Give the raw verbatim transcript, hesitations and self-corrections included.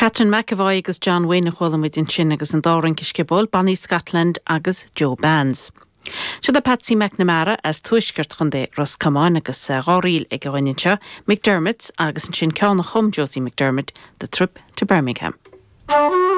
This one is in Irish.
Catherine McEvoy agus John Wayne a chuala muid ansin agus an dá rince sciobóil, Bonnie Scotland agus Joe Bands. Seo é Patsy McNamara as tuaisceart Chontae Ros Comáin agus dhá ríl ag an duine seo, McDermott agus ansin ceann a chum Josie McDermott, The Trip to Birmingham.